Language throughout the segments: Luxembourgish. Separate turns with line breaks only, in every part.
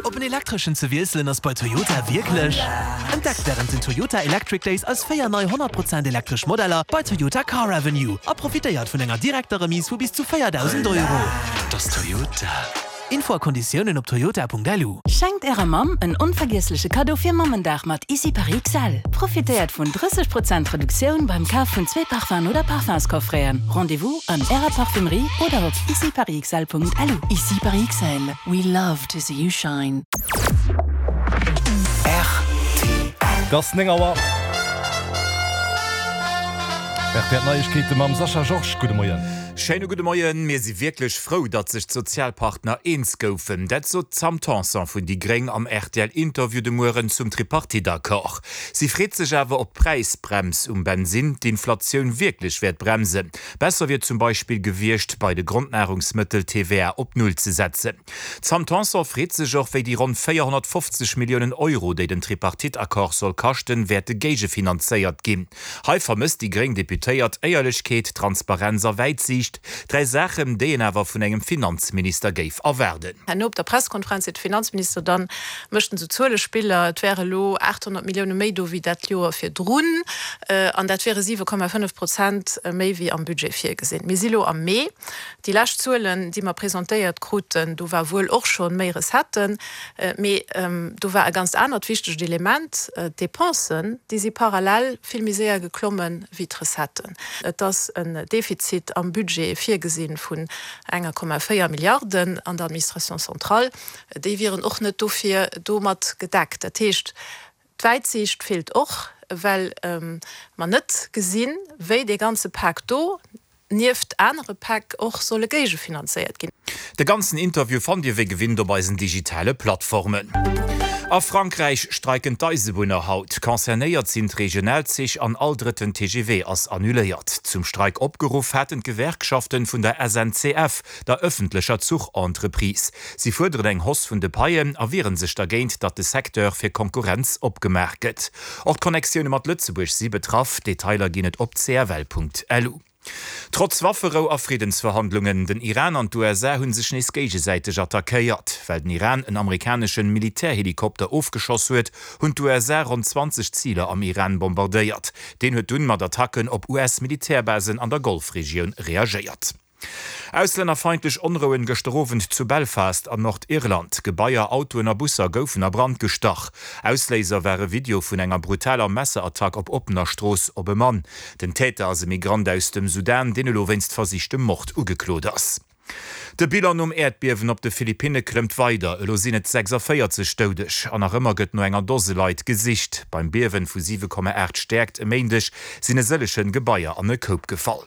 Op en elektreschen ze wiesselen ass bei Toyota wierklech. Entdeckt wärend den Toyota Electric Days eis 4 nei 100 Prozent elektresch Modeller bei Toyota Car Avenue a profitéiert vun enger direkter Remise vu bis zu 4.000 Euro. Dat ass Toyota. Info a Konditiounen op toyota.lu.
Schenkt ärer Mamm en onvergiessleche Kaddo fir Mammendag mat Ici Paris XL. Profitéiert vun 30 Prozent Reduktioun beim Kaf vun zwee Parfum'en oder Parfumscoffreten. Rendez-vous an ärer Parfumerie oder op iciparisxl.lu. Ici Paris XL, we love to see you shine.
Et ass 9 Auer. Rtl Neiegkeete mam Sascha Georges. Gudde Moien.
Schéine gudde Moien. Mir si wierklech frou, datt sech d'Sozialpartner eens goufen. Dat sot d'Sam Tanson vun déi Gréng am RTL-Interview de Mueren zum Tripartite-Accord. Si freet sech awer, ob d'Präisbrems um Bensinn d'Inflatioun wierklech wäert bremsen. Besser wier zum Beispill gewiescht, bei de Grondnahrungsmëttel d'TVA op Null ze setzen. D'Sam Tanson freet sech och, wéi déi ronn 450 Milliounen Euro, déi den Tripartite-Accord soll kaschten, wäerte géigefinanzéiert ginn. Hei vermësst déi gréng Deputéiert Éierlechkeet, Transparenz a Wäitsiicht, dräi Saachen, déi een awer vun engem Finanzminister géif erwaarden.
Herno op der Presskonferenz seet de Finanzminister dann, mécht en esou Zuelespiller, et wäre elo 800 Millioune méi do wéi dat Joer virdrun an dat wiere 7,5 Prozent méi wéi am Budget virgesinn. Mir si lo am Mee. Déi lescht Zuelen, déi mer presentéiert kruten, do war wuel och scho méi Recetten, mee do war e ganzt anert wichtegt Element, D'Dépensen, déi si parallel vill méi séier geklomme wéi d'Recetten. Et ass en Defizit am Budget virgesi vun 1,4 Milliarden an der Administration centrale. Déi wieren och net dofir domat gedeckt. Dat heescht, D'Wäitsiicht feelt och, well mer net gesinn, wéi dee ganze Pak do nieft anere Päck och solle géigefinanzéiert ginn.
De ganzen Interview fannt Dir wéi gewinnt op eisen digitale Plattformen. A Frankräich streiken d'Eisebunner haut. Concernéiert sinn d'Regionalzich an all drëtten TGV ass annuléiert. Zum Streik opgeruff haten d'Gewerkschaften vun der SNCF, der ëffentlecher Zuchentreprise. Si fuerderen eng Hausse vun de Paien a wieren sech dergéint, datt de Secteur fir Konkurrenz opgemaach gëtt. Och d'Connectioune mat Lëtzebuerg si betraff. Detailer ginn et op cfl.lu. Trotz Wafferou a Friddensverhandlungen, den Iran an d'USA hu sech nees géigesäiteg attackéiert. Well den Iran en amerikaneschen Militärhelikopter ofgeschoss huet, hunn d'USA ronn 20 Ziler am Iran bombardéiert. Deen huet dunn mat Attacken op US-Militärbasen an der Golfregioun reagéiert. Auslännerfeindlech Onrouen gëschter Owend zu Belfast an Nordirland. Gebaier, Autoen a Busser goufen a Brand gestach. Ausléiser war e Video vun enger brutaler Messerattack op oppener Strooss op e Mann. Den Täter ass e Migrant aus dem Sudan, deen elo wéinst versichtem Mord ugeklot ass. De Bilan nom Äerdbiewen op de Philippinne klëmmt weider, elo sinn et 46 Doudeg an nach ëmmer gëtt no enger Dose Leit gesicht. Beim Biewen vu 7,8 Stäerkt e Méindeg sinn e sëllegen Gebaier an e Koup gefall.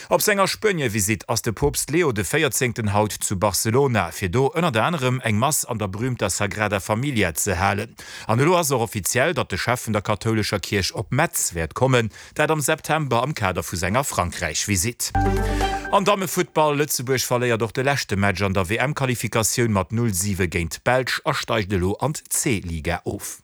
Op senger Spuenie-Visitt ass de Poopst Leo de Véierzéngten haut zu Barcelona, fir do ënnert anerem eng Mass an der berüümter Sagrada Familia ze halen. An elo ass och offiziell, datt de Chef vun der kathoulescher Kierch op Metz wäert kommen, dat am September am Kader vu senger Frankräich-Visitt. Am Dammefuttball, Lëtzebuerg verléiert och de leschte Match an der WM-Qualifikatioun mat 0, 7 géint d'Belsch a steigt elo an d'C-Liga of.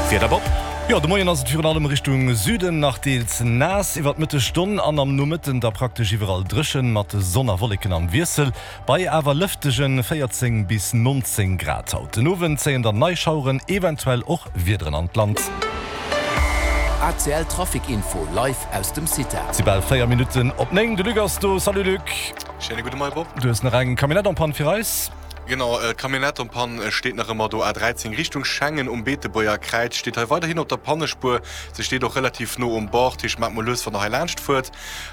Wieder Bob. Jo, de Moien ass et virun allem Richtung Süden nach deels naass, iwwer d'Mëttesstonn an am Nomëtten da praktesch iwwerall dréchen, mat Sonn a Wolleken am Wiessel, bei awer lëftege 14 bis 19 Grad haut. Den Owend zéien dann nei Schaueren, eventuell och Wiederen an d'Land.
ACL Trafic Info live aus dem CITA.
Et si bal 4 Minutten op 9, de Luc ass do. Salut Luc.
Schéine gudde Moie Bob.
Du hues nach eng Camionnette en panne fir eis?
Genau, d'Camionnette en panne steet nach ëmmer do. A 13 Richtung Schengen um Beetebuerger Kräiz steet hei weiderhin op der Pannespuer. Se steet och relativ no um Bord, heescht maacht mol lues wann der hei laanscht fuert.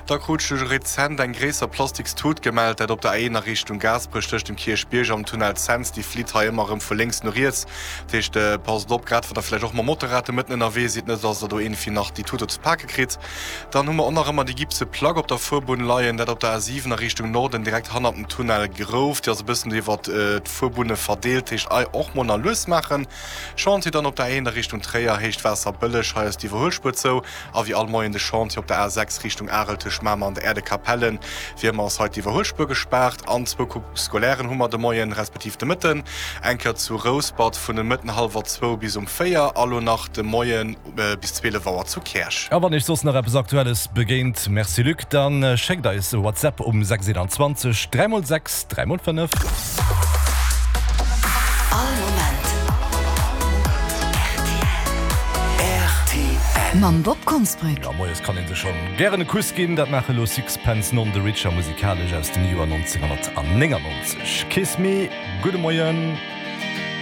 Da krut ech rezent eng gréisser plastiks Tut gemellt, dat op der A1 a Richtung Gaasperech tëscht dem Kierchbierg am Tunnel Cents. Déi flitt hei ëmmer erëm vu lénks no riets, dat heescht passt op, grad wann der vläicht och mam Motorrad do mëtten ënnerwee sidd, net dass der do iergendwéi nach déi Tut do ze pake kritt. Dann hu mer och nach ëmmer déi gipse Plack op der Fuerbunn leien, dat op der A7 a Richtung Norden, direkt hannert dem Tunnel Grouf. Déi ass e bëssen iwwer d'Fuerbunne verdeelt, heescht ei och mol nach lues maachen. Chantier dann op der A1 a Richtung Tréier, Héicht Waasserbëlleg, hei ass d'Iwwerhuelspuer zou. A wéi all Moien de Chantier op der A6 Richtung Arel tëscht Mamer an der Äerdekapellen. Wéi ëmmer ass hei d'Iwwerhuelspuer gespaart. An zwou Coupes scolairen hu mer de Moien, respektiv de Mëtten, eng Kéier zu Rouspert vun de Mëtten hallwer zwou bis um 4 a lo nach de Moien, Bis 12 Auer zu Käerch.
A wann iech soss nach eppes Aktuelles begéint, merci Luc, dann schéckt eis e WhatsApp um 6 21 3 x 6 3 x 5. All Moment rtl.
Mam Bob Konsbrück.
Jo, moies kann een sech schonn gären e Kuss ginn. Dat maache lo Sixpence None the Richer musikalesch aus dem Joer 1999. Kiss Me. Gudde Moien.